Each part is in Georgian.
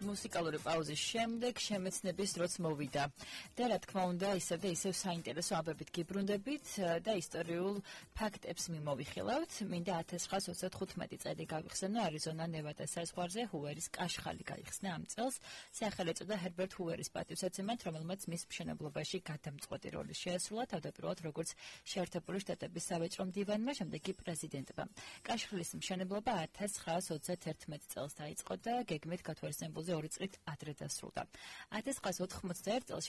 მუსიკალური პაუზის შემდეგ შემეცნების დროც მოვიდა და რა თქმა უნდა ისევ და ისევ საინტერესო ამბებით გიბრუნდებით და ისტორიულ ფაქტებს მიმოვიხილავთ. მინდა 1935 წელი გავიხსენო არიზონა ნევადას საზღვარზე ჰუერის კაშხალი გაიხსნა ამ წელს. სახელი ეწოდა ჰერბერტ ჰუერის პატივსაცემად, რომელმაც მის მშენებლობაში გადამწყვეტი როლი შეასრულა თავდაპირველად როგორც შეერთებული შტატების სავაჭრო მდივანმა, შემდეგ კი პრეზიდენტმა. კაშხლის მშენებლობა 1931 წელს დაიწყო და გეგმით გათვალისწინებულზე 2 წლით ადრე დასრულდა. 1981 წელს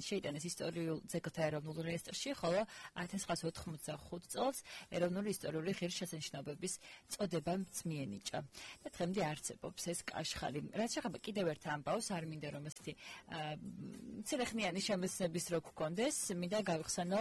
შეიტანეს ისტორიულ ძეგლთა ეროვნულ რეესტრში, ხოლო 1985 წელს ეროვნული ისტორიული ღირსშესანიშნაობების წოდება მიენიჭა. და დღემდე არსებობს ეს კაშხალი. რაც შეეხება კიდევ ერთ ამბავს, არ მინდა რომ ესეთი მცირეხნიანი შემეცნების რო გქონდეს, მინდა გავიხსენო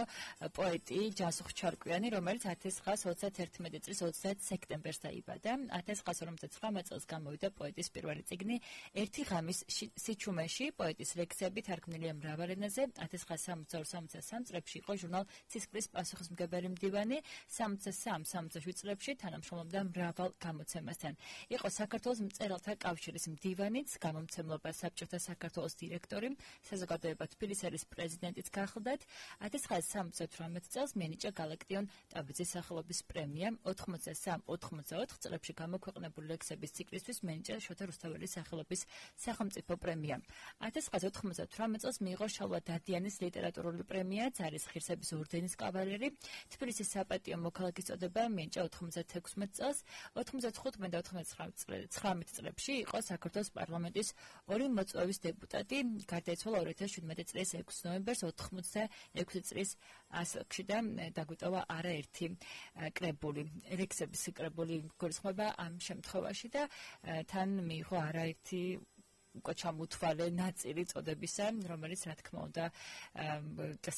პოეტი ჯასუხ ჩარკვიანი, რომელიც 1931 წლის 30 სექტემბერს დაიბადა. 1959 წელს გამოვიდა პოეტის პირველი წიგნი ერთი ღამის სიჩუმეში, პოეტის ლექსები თარგმნილია მრავალ ენაზე. 1962-63 წლებში იყო ჟურნალ ცისკრის პასუხისმგებელი მდივანი, 63-67 წლებში თანამშრომლობდა მრავალ გამოცემასთან. იყო საქართველოს მწერალთა კავშირის მდივანიც, გამომცემლობა საბჭოთა საქართველოს დირექტორი, საზოგადოება თბილისელის პრეზიდენტიც გახლდათ. 1978 წელს მიენიჭა გალაქტიონ ტაბიძის სახელობის პრემია, 83-84 წლებში გამოქვეყნებული ლექსების ციკლისთვის მიენიჭა შოთა რუსთაველის სახელობის სახელმწიფო პრემია. 1998 წელს მიიღო შალვა დადიანის ლიტერატურული პრემია, ძარის ღირსების ორდენის კავალერი, თბილისის საპატიო მოქალაქის წოდება მიენიჭა 96 წელს. 85 და 99 წლებში იყო საქართველოს პარლამენტის ორი მოწვევის დეპუტატი, გარდაიცვალა 2017 წლის 6 ნოემბერს 86 წლის ასაკში და დაგვიტოვა არაერთი კრებული. ლექსების კრებული გულისხმობა ამ შემთხვევაში და თან მიიღო არაერთი უკვე ჩამოთვალე ნაწილი წოდებისა, რომელიც რა თქმა უნდა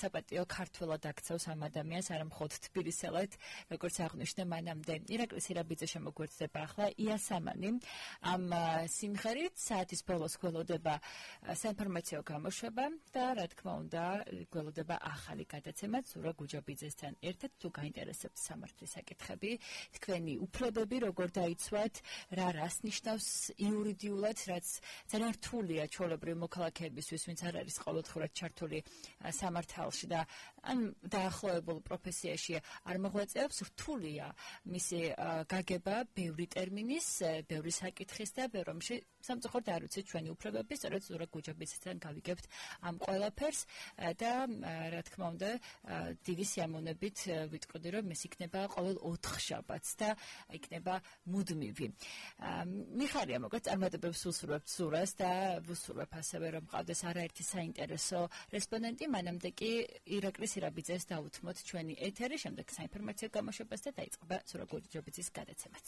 საპატიო ქართველად აქცევს ამ ადამიანს, არა მხოლოდ თბილისელად, როგორც აღნიშნე მანამდე. ირაკლი სირაბიძე შემოგვეცდება ახლა იასამანი. ამ სიმღერით საათის ბოლოს გველოდება საინფორმაციო გამოშვება და რა თქმა უნდა გველოდება ახალი გადაცემა ზურა გუჯაბიძესთან ერთად. თუ გაინტერესებთ სამართლის საკითხები, თქვენი უფლებები როგორ დაიცვათ, რას ნიშნავს იურიდიულად, რაც ძალიან რთულია ჩვეულებრივი მოქალაქეებისთვის, ვინც არ არის ყოველდღურად ჩართული სამართალში და ან დაახლოებულ პროფესიაში არ მოღვაწეობს, რთულია მისი გაგება ბევრი ტერმინის, ბევრი საკითხის და ბევრ რამში სამწუხაროდ არ ვიცით ჩვენი უფლებები, სწორედ ზურა გუჯაბიძესთან გავიგებთ ამ ყველაფერს და რა თქმა უნდა დიდი სიამოვნებით ვიტყოდი, რომ ეს იქნება ყოველ 4 შაბათს და იქნება მუდმივი. მიხარია მოკლედ წარმატებებს ვუსურვებთ ზურას და ვუსურვებ ასევე რომ მყავდეს არაერთი საინტერესო რესპონდენტი, მანამდე კი ირაკლი სირაბიძეს დავუთმოთ ჩვენი ეთერი, შემდეგ საინფორმაციო გამოშვებას და დაიწყება ზურა გუჯაბიძის გადაცემაც.